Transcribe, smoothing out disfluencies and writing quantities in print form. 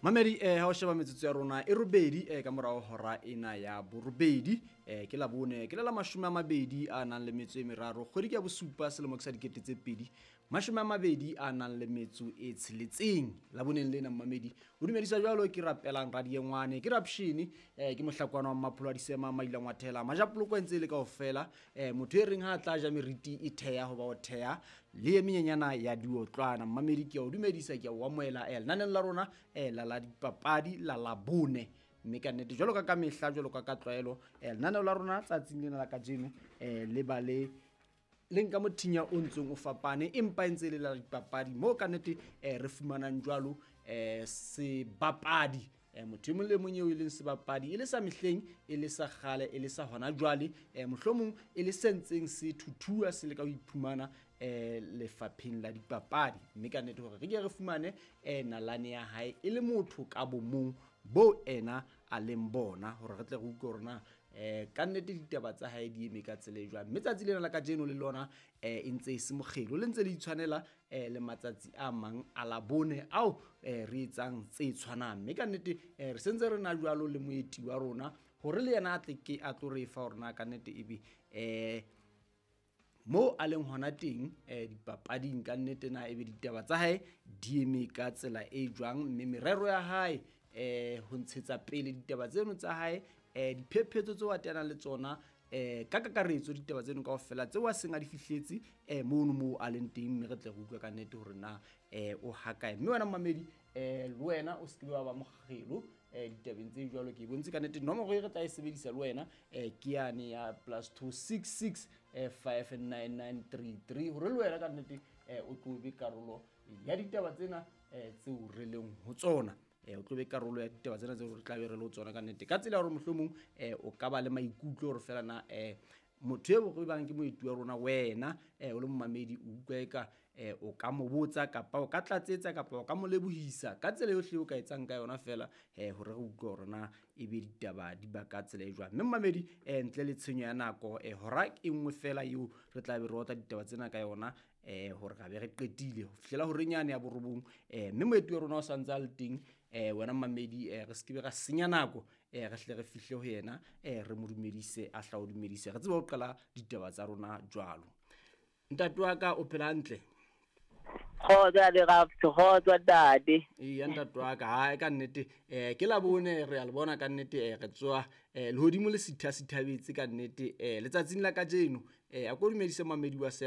Mamedi ha o sheba metsotso ya rona e robedi ka morao hora ena ya borobedi, ke Labone, ke le la 23 kgwedi ke ya bosupa selemo ke sa 2026. Laboneng lena mmamedi o dumedisa jwalo ke rapelang radiengwane ke rapshini, ke mohlakwana wa Mmapholo a Disema Maila Ngwathela Majapoloko e ntse e le kaofela, motho e reng ha a tla ja meriti e theha hoba o theha le e menyenyana ya diotlwana. Mmamedi ke a o dumedisa, ke a o amohela lenaneng la rona la dipapadi la Labone, mme ka nnete jwalo ka mehla, jwalo ka tlwaelo, lenaneo la rona tsatsing lena la kajeno le ba le le nka mothinya o ntseng o fapane, empa e ntse e le la dipapadi moo ka nnete re fumanang jwalo sebapadi, motho e mong le mong eo e leng sebapadi, e le sa mehleng, e le sa kgale, e le sa hona jwale, mohlomong e le se ntseng se thuthua se le ka ho iphumana lefapheng la dipapadi. Mme ka nnete hore re ke re fumane nalane ya hae e le motho ka bomong bo ena a leng bona, hore re tle re utlwe hore na ka nnete ditaba tsa hae di eme ka tsela e jwang. Mme tsatsi lena la kajeno le lona e ntse e se mokgelo, le ntse le itshwanela le matsatsi a mang a Labone ao re etsang tse tshwanang. Mme ka nnete re sentse re na jwalo le moeti wa rona hore le yena a tle ke a tlo re fa hore na ka nnete ebe mo a leng hona teng dipapading ka nnete na ebe ditaba tsa hae di eme ka tsela e jwang, mme merero ya hae ho ntshetsa pele ditaba tseno tsa hae, diphephetso tseo a teanang le tsona, ka kakaretso ditaba tseno kaofela tseo a seng a di fihletse mono moo a leng teng, mme re tle re utlwe ka nnete hore na o hakae. Mme wena mmamedi, le wena o se ke wa ba mokgelo ditabeng tse jwalo. Ke bontse ka nnete nomoro e re tla e sebedisa le wena ke yane ya +266 59933 hore le wena ka nnete o tlo be karolo ya ditaba tsena tseo re leng ho tsona. O tlo be karolo ya ditaba tsena tseo re tla be re le ho tsona ka nnete, ka tsela ya hore mohlomong o ka ba le maikutlo hore fela na motho eo re bang ke moeti wa rona, wena o le momamedi o utlwa eka o ka mo botsa kapa o ka tlatsetsa kapa o ka mo lebohisa ka tsela yohle o ka etsang ka yona fela, hore re utlwe hore na ebe ditaba di ba ka tsela e jwang. Mme mmamedi, ntle le tshenyo ya nako, hora e nngwe fela eo re tla be re otla ditaba tsena ka yona, hore ra be re qetile ho fihlela horeng yane ya borobong, mme moeti wa rona o santse a le teng. Wena mmamedi, re se ke be ra senya nako, re hle re fihle ho yena, re mo dumedise, a hla o dumedise, re tsebe ho qala ditaba tsa rona jwalo. Ntate wa ka, o phela hantle? Kgotsa le Raps, kgotsa ntate. Eya ntate wa ka, hae ka nnete, ke Labone re a le bona ka nnete, re tswa lehodimo le sitha sithabetse ka nnete, letsatsing la kajeno, a ko dumedise mamedi wa se